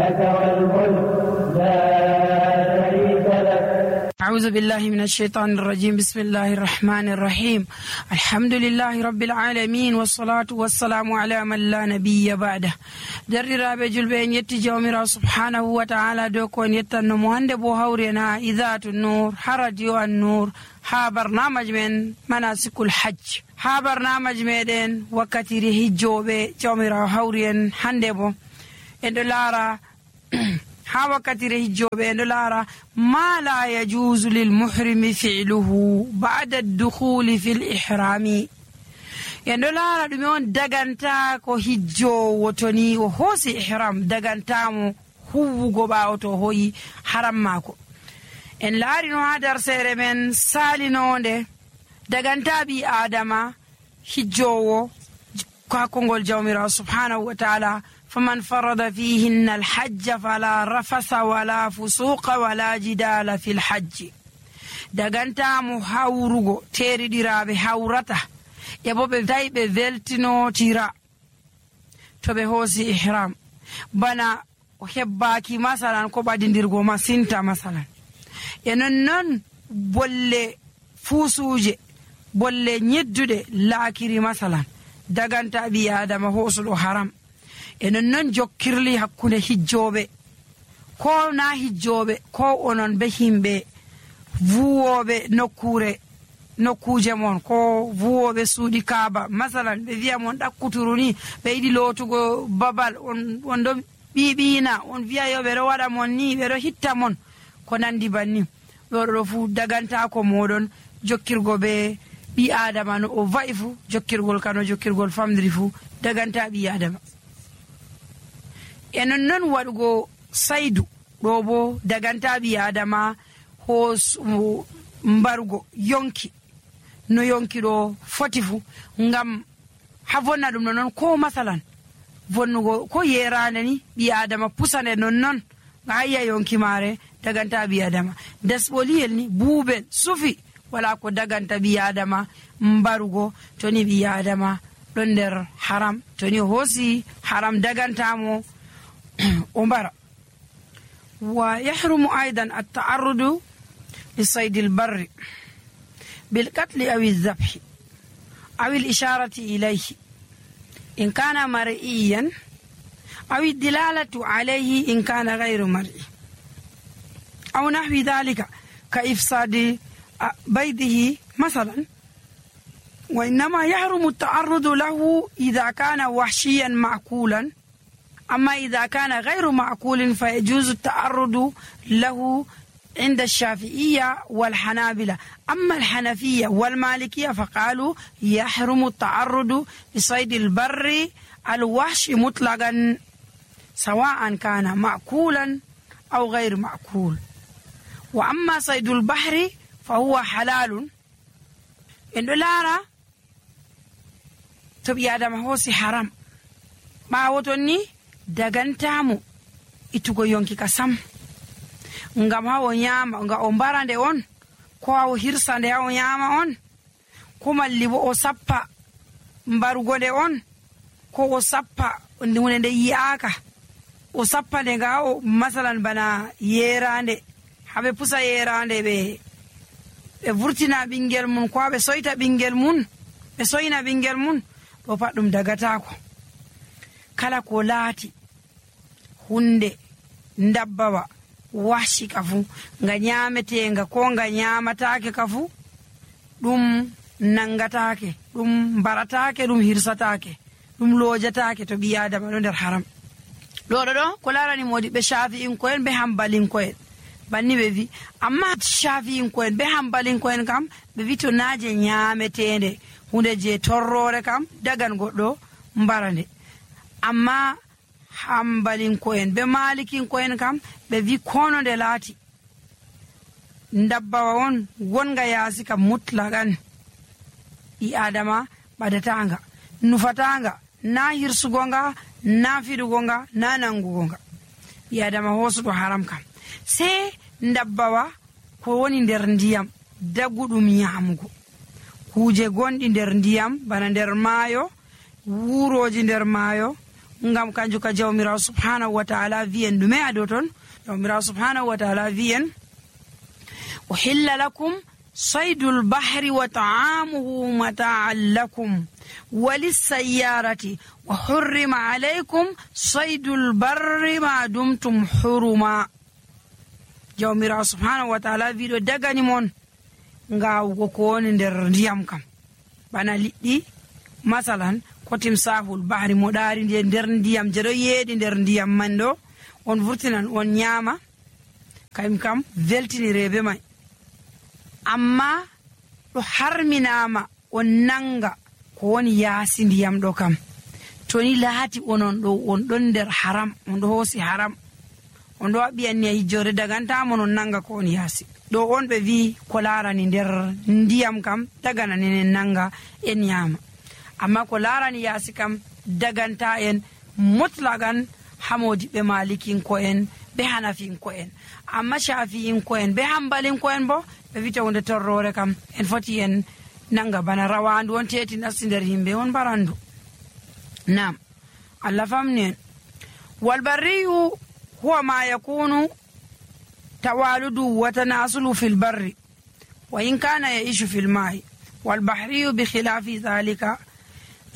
لك والملك لا شريك لك. أعوذ بالله من الشيطان الرجيم. بسم الله الرحمن الرحيم. الحمد لله رب العالمين والصلاة والسلام على من لا نبي بعده. دررابه julbe en yetti jawmirawo subhanahu wa ta'ala do ko en yettanno mo hande bo hawrena idatu nur ha radio an nur ha barnamaj men manasikul hajj ha barnamaj meden wakkatiri hijjobe jawmirawo hawri en hande bo en do lara ha wakkatire hijjobe en do lara ma la yajuzu lil muhrimi fi'luhu ba'da ad-dukhuli fil ihrami. en do lara dum on daganta ko hijjowo toni o hosi ihram dagantamo huwugo bawo to hoyi haram mako. en laari no ha dar sere men salinonde daganta bi adama hijjowo ka kongol jawmirawo subhanahu wa ta'ala فمن فرض فيهن الحج فلا رفث ولا فسوق ولا جدال في الحج. دغانتا مو هاوروغو تيري ديرابه هاورتا يبوبه دايبه فيلتينو تيرا توبه هوسي احرام بنا وهباكي مثلا كو بادينديرغو ما سينتا مثلا ينن بوله فوسوجه بوله نيدوده لاكيري مثلا دغانتا بي ادم هوسو حرام. enon non jokkirli hakkunde hijjobe ko na hijjobe ko onon be himbe vuwobe nokkuje mon ko vuwobe suudi kaaba masalan be wi'a mon dakkuturuni be idi lotugo babal on do bibina on wi'a yo be ro wada mon ni be ro hitta mon ko nandi banni do fu daganta ko modon jokkirgo be bi adama no o vaifu jokkirgol kano jokkirgol famdiri fu daganta bi adama. enon non wadugo saidu do bo daganta bi adama hos mbarugo yonki no yonki do fotifu ngam havonna dum non ko masalan vonnugo ko yerane ni bi adama pusane non ngaya yonki mare daganta bi adama dasboliyel ni bubel sufi wala ko daganta bi adama mbarugo toni bi adama don der haram toni hosi haram dagantamo أمبارا. ويحرم أيضا التعرض لصيد البر بالقتل أو الذبح أو الإشارة إليه إن كان مرئيا أو الدلالة عليه إن كان غير مرئي أو نحو ذلك كإفساد بيضه مثلا. وإنما يحرم التعرض له إذا كان وحشيا معقولا. أما إذا كان غير معقول فيجوز التعرض له عند الشافعية والحنابلة. أما الحنفية والمالكية فقالوا يحرم التعرض لصيد البر الوحش مطلقا سواء كان معقولا أو غير معقول. وأما صيد البحر فهو حلال. إن لارا تبي آدم هوسي حرام ما وتني dagantamu itugo yonki kasam ngam hawo nyama nga o barande on ko hawo hirsande hawo nyama on ko mallibo o sappa mbarugode on ko o sappa ndune de yiaka o sappa de nga o masalan bana yerande habe pusa yerande be vurtina bingel mun ko be soyta bingel mun be soyna bingel mun do paddum dagata ko kala ko laati hunde ndabbawa washi kafu nga nyametenga ko nga nyamataake kafu dum nangataake dum barataake dum hirsataake dum lojataake to bi adama do der haram do ko larani modi be shafi'in ko en be hambalin ko en banni be vi amma shafi'in ko en be hambalin ko en kam be vi to naaje nyametende hunde je torrore kam dagan goddo mbarande. amma hambalin ko en be malikin ko en kam be vi kono de laati ndabbawa on gonga yaasi kam mutlagan i adama badatanga nufatanga na hirsugonga na fidugonga na nangugonga i adama hosudo haram kam se ndabbawa ko woni nder ndiyam dagudum nyamugo kuje gondi nder ndiyam bana nder maayo wuroji nder maayo ngam kanju ka jawmirawo subhanahu wa ta'ala wi'en ɗume ado ton. jawmirawo subhanahu wa ta'ala wi'en uhilla lakum saydul bahri wa ta'amuhu mata'an lakum walissayyarati wa hurrima alaykum saydul barri ma dumtum huruma. jawmirawo subhanahu wa ta'ala wiɗo dagani mon ngawugo ko woni nder ndiyam kam bana liɗɗi masalan ko timsahul bahri moɗari nder ndiyam jeɗo yeeɗi nder ndiyam man ɗo on vurtinan on ñaama kayum kam weltinirebe may, amma ɗo harminama on nanga ko woni yaasi ndiyam ɗo kam to ni laati onon ɗo on ɗon nder haram, on ɗo hoosi haram, on ɗo waɓiyanni hijjore dagantamo non nanga ko on yaasi ɗo on ɓe wi ko larani nder ndiyam kam dagananinen nanga en ñaama, amma ko larani yaasi kam daganta en mutlagan hamodiɓe malikinko en ɓe hanafinko en, amma shafi'inko en ɓe hambalinko en bo ɓe wita hunde torrore kam en foti en nanga bana rawandu on teti nasti nder yimɓe on barandu. Nam Allah famni en. walbarriyu huwa ma yakunu tawaludu wa tanasulu fil barri wa in kana yaishu fil ma'i والبحري بخلاف ذلك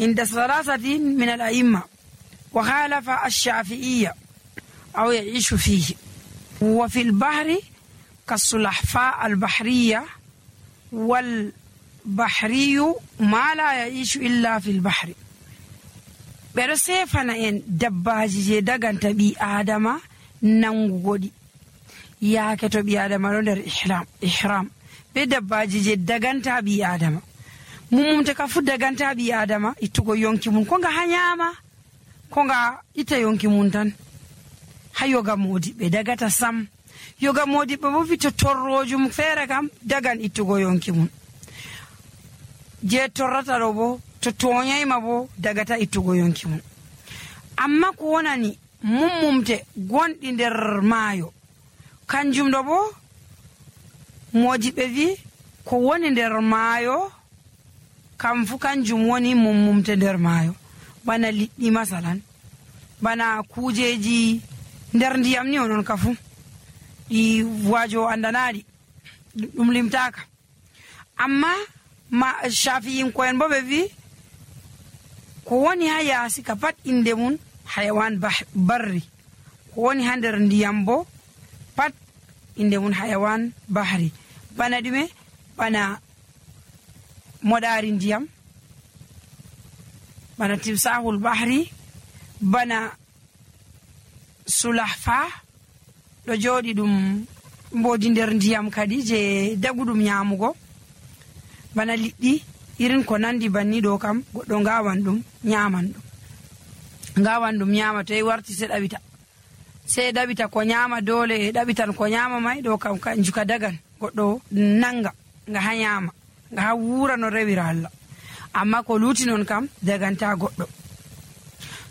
عند ثلاثة من الأئمة وخالف الشافعية أو يعيش فيه. وفي البحر كالسلحفاء البحرية والبحري ما لا يعيش إلا في البحر. برسيفنا إن دباجي دغان تبي آدم نانغودي يا كتبي آدم لندر إحرام be dabbaji je daganta bi adama mumumte ka fu daganta bi adama ittugo yonki mun ko nga hanyama ko nga ita yonki mun tan ha yoga modi be dagata sam yoga modi be bo fito torrojum fere kam dagan ittugo yonki mun je torrata do bo to tonyai ma bo dagata ittugo yonki mun. amma ko wonani mumumte gondi nder maayo kanjum do bo moji ɓe wi ko woni nder maayo kam fu kanjum woni mummumte nder maayo bana liɗɗi masalan bana kujeji nder ndiyam ni onon ka fu ɗi wajo andanaɗi ɗum limtaka. amma ma shafi'in ko en bo ɓe wi ko woni ha yaasi ka pat inde mun hayawan barri, ko woni ha nder ndiyam bo pat inde mun hayawan bahri. bana ɗume bana moɗari ndiyam, bana timsahul bahri, bana sulahfa ɗo joɗi ɗum mbodi nder ndiyam kadi je daguɗum nyamugo, bana liɗɗi irin ko nandi banni ɗo kam goɗɗo ngawan ɗum nyaman ɗum, ngawan ɗum nyama to warti se ɗaɓita sai ɗaɓita ko nyama dole ɗaɓitan ko nyama mai ɗo kam kanju ka dagan goɗɗo nanga nga ha nyama nga ha wura no rewira Allah. amma ko luti non kam daganta goɗɗo.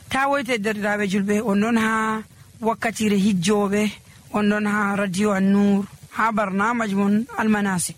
ta woyte derɗiraɓe julɓe on ɗon ha wakkatire hijjoɓe, on ɗon ha radio An-Nur ha barnamaji mon almanasi.